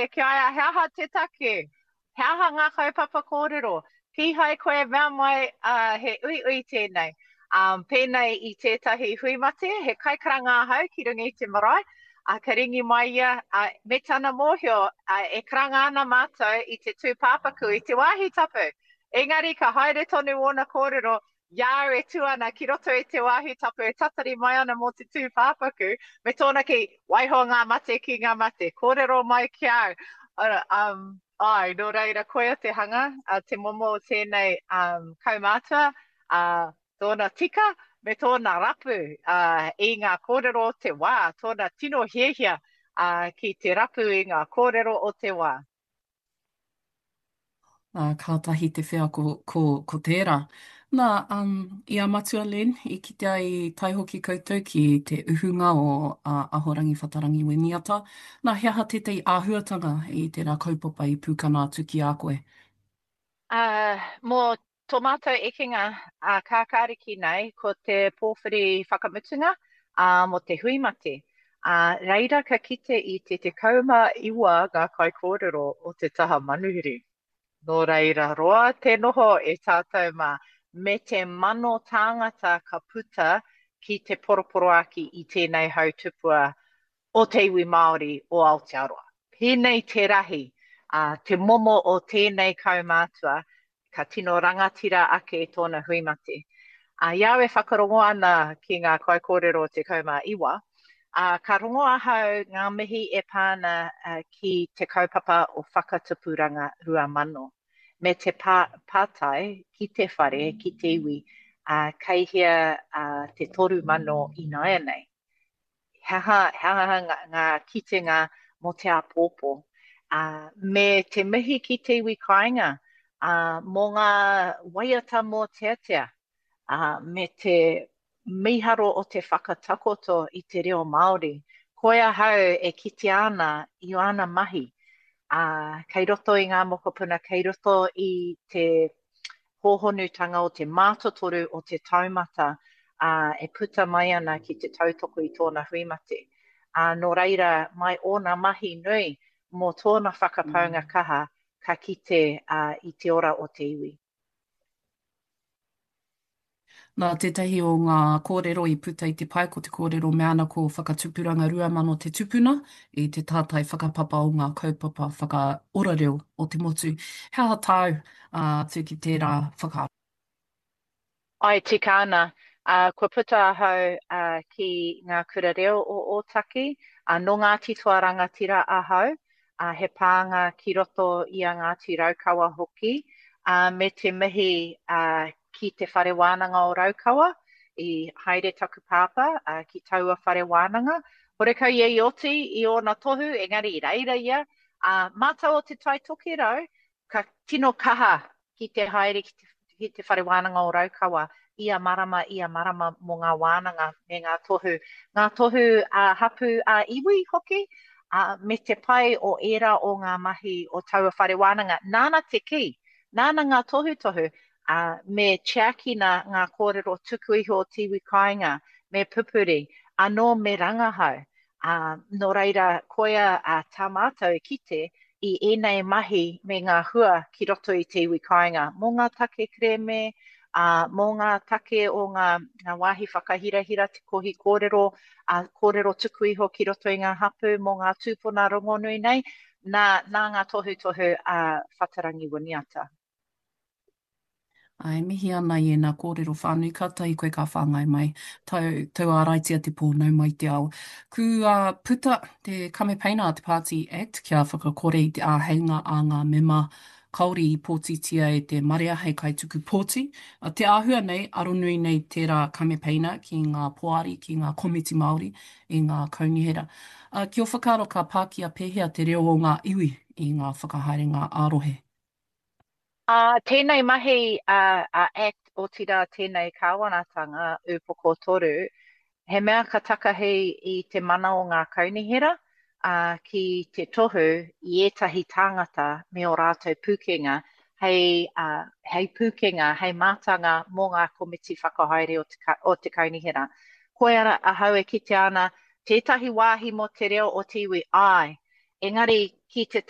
Ki a ia, he aha te take? He aha ngā kaupapa kōrero? Kīhai koe mea mai uh, he uiui tēnei. Um, pēnei i tētahi hui mate, he kaikaranga ahau ki runga i te marae, uh, ka ringi mai ia, uh, me tana mōhio, uh, e karanga ana mātou i te tūpāpaku, i te wāhi tapu. Engari ka haere tonu ōna kōrero, I a au e tū ana ki roto i te wāhi tapu e tatari mai ana mō te tūpāpaku, me tōna kī, waiho ngā mate ki ngā mate, kōrero mai ki a au. Um, āe, nō reira, koia te hanga, uh, te momo o tēnei um, kaumātua, uh, tōna tika me tōna rapu uh, i ngā kōrero o te wā, tōna tino hiahia uh, ki te rapu i ngā kōrero o te wā. Ā, kātahi te wheako ko, ko tērā. Nā, um, i a Matua Len, i kitea i tae hoki koutou ki te uhunga o a Ahorangi Whatarangi Winiata. Nā, he aha tētahi āhuatanga i tērā kaupapa i pūkana atu ki a koe? Ā, mō tō mātou ekenga ā kākāriki nei, ko te pōwhiri whakamutunga, ā, mō te hui mate. Ā, reira ka kite i te 19 ngā kaikōrero o te taha manuhiri. Nō reira roa te noho e tātou mā, me te mano tāngata ka puta ki te poroporoāki i tēnei hau tupua o te iwi Māori o Aotearoa. Pēnei te rahi, ā, te momo o tēnei kaumātua, ka tino rangatira ake tōna hui mate. Ā, i a au e whakarongo ana ki ngā kaikōrero 19, ā, ka rongo ahau ngā mihi e pā ana ki te kaupapa o Whakatupuranga 2000, me te pā, pātai ki te whare, ki te iwi, ā, kei hea te 3000 ināianei? He aha, he aha ngā, ngā kitenga mō te āpōpō? Ā, me te mihi ki te iwi kāinga, ā, mō ngā waiata mōteatea, ā, me te mīharo o te whakatakoto i te reo Māori. Koi ahau e kitea ana i āna mahi, ā, kei roto i ngā mokopuna, kei roto i te hōhonutanga o te mātotoru o te taumata, ā, e puta mai ana ki te tautoko i tōna hui mate. Ā, nō reira, mai ōna mahi nui mō tōna whakapaunga kaha, ka kite, ā, i te ora o te iwi. Nā tētahi o ngā kōrero i puta i te pae ko te kōrero mea ana ko Whakatupuranga 2000 te tupuna i te tātai whakapapa o ngā kaupapa whakaora reo o te motu. He aha tāu atu ki tērā whakaaro? Āe, tika ana. Kua puta ahau ki ngā kura reo o Ōtaki. Nō Ngāti Toa Rangatira ahau, he pānga ki roto i a Ngāti Raukawa hoki, me te mihi ki Te Whare Wānanga o Raukawa, i haere taku pāpā ki taua whare wānanga. Horekau ia i oti i ōna tohu, engari i reira ia. Ā, mātou o Te Tai Tokerau, ka tino kaha ki te haere ki te, ki te Whare Wānanga o Raukawa ia marama, ia marama mō ngā wānanga me ngā tohu, ngā tohu ā-hapū, ā-iwi hoki, ā, me te pai o ērā o ngā mahi o taua whare wānanga. Nāna te kī, nāna ngā tohutohu, ā, me tiakina ngā kōrero tuku iho o te iwi kāinga, me pupuri, anō me rangahau. Ā, nō reira, koia ā, tā mātou e kite i ēnei mahi me ngā hua ki roto i te iwi kāinga, mō ngā take kerēme, ā, mō ngā take o ngā, ngā wāhi whakahirahira te kohi kōrero, ā, kōrero tuku iho ki roto i ngā hapū mō ngā tūpuna rongonui nei, nā, nā ngā tohutohu a Whatarangi Winiata. Ā, e mihi ana i ēnā kōrero whānui, kātahi koe ka whāngai mai. Tau, tauāraitia te pō, nau mai te ao. Kua puta te kamepeina a te Pāti Act kia whakakore i te āheinga a ngā mema kāore i pōtitia e te marea hei kaituku pōti. Te āhua nei, aronui nei tērā kamepeina ki ngā poari, ki ngā komiti Māori i ngā kaunihera. Ki ō whakaaro ka pākia pēhea te reo o ngā iwi i ngā whakahaerenga ā-rohe? Ā, tēnei mahi a, a act, otirā tēnei kāwanatanga, Ūpoko Toru, he mea ka takahi i te mana o ngā kaunihera, ā, ki te tohu i ētahi tāngata me ō rātou pūkenga hei, ā, hei pūkenga, hei mātanga mō ngā komiti whakahaere o te, o te kaunihera. Koia ahau e kitea ana tētahi wāhi mō te reo o te iwi, āe, engari. Ki te.